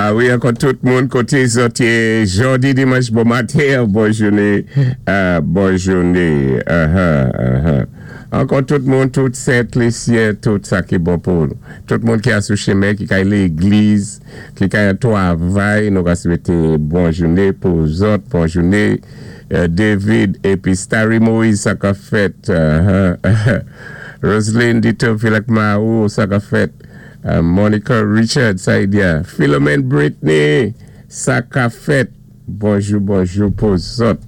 A wi, ankò tout moun koté zòt yé, jòdi dimanch bon maten, bon jouné, bon jouné. Ankò tout moun, tout Sent Lisyen, tout sa ki bon pou tout moun ki asou chimen, ki kay légliz, ki kay an twavay, nou ka swété bon jouné pou zòt, bon jouné. David épi Starry Moïse, sa ka fèt? Roseline Dito Philak Mahou, sa ka fèt? Monica Richard, Saïdia, Philomène Britney, sa ka fèt? Bonjou, bonjou pou zòt.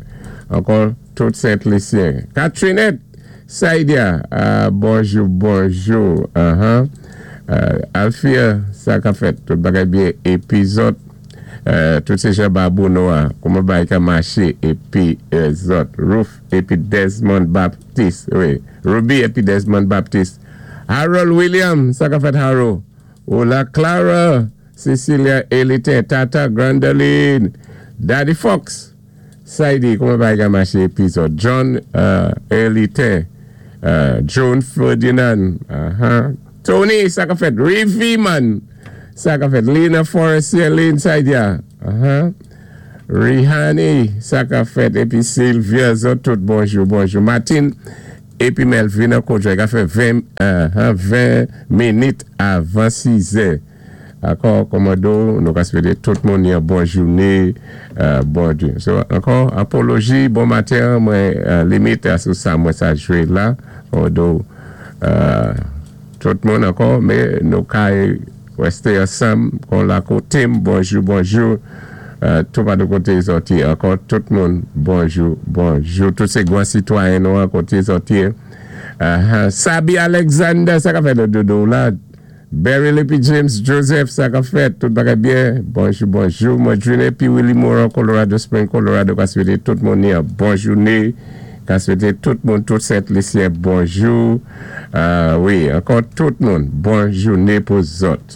Ankò tout Sent Lisyen. Catrinette, Saïdia, bonjou, bonjou. Alfia, sa ka fèt? Tout bagay byen. Épi zòt, tout sé jan Babou Noa, kouman bagay ka maché, épi zòt. Ruth épi Desmond Baptiste, wi. Ruby épi Desmond Baptiste. Harold William, sa ka fèt, Harold? Hola Clara, Cecilia Elite, Tata Grandoline, Daddy Fox, Saidi, kouman bagay ka maché, épi zòt? John Elite, John Ferdinand, Tony, sa ka fèt? Rivi man, sa ka fèt? Lina Forestier, Lynn Saidia, Rihani, sa ka fèt? Épi Sylvia, zòt tout bonjou, bonjou. Martin, épi Melvina Kodjo, ka fè 20, 20 minit avan 6 è. Ankò, kòmando, nou ka swété tout moun yon bon jouné, bon Dye. So, ankò, apoloji, bon maten, mwen limité sou sa mwen sa jwé la, kòmando, tout moun ankò, mé nou ka résté ansanm, kon la koté, bonjou, bonjou, tout pa de koté zòt yé. Ankò, tout moun, bonjou, bonjou, tout sé gwan sitwayen nou an koté zòt yé. Sabi Alexander, sa ka fèt dodo la? Barry Lippy James Joseph, sa ka fèt? Tout bagay byen? Bonjou, bonjou. Mwen June épi Willy Moran, Colorado Spring, Colorado, ka swété tout moun yon bon jouné. Ka swété tout moun, tout Sent Lisyen, bonjou. Wi, ankò tout moun, bon jouné pou zòt.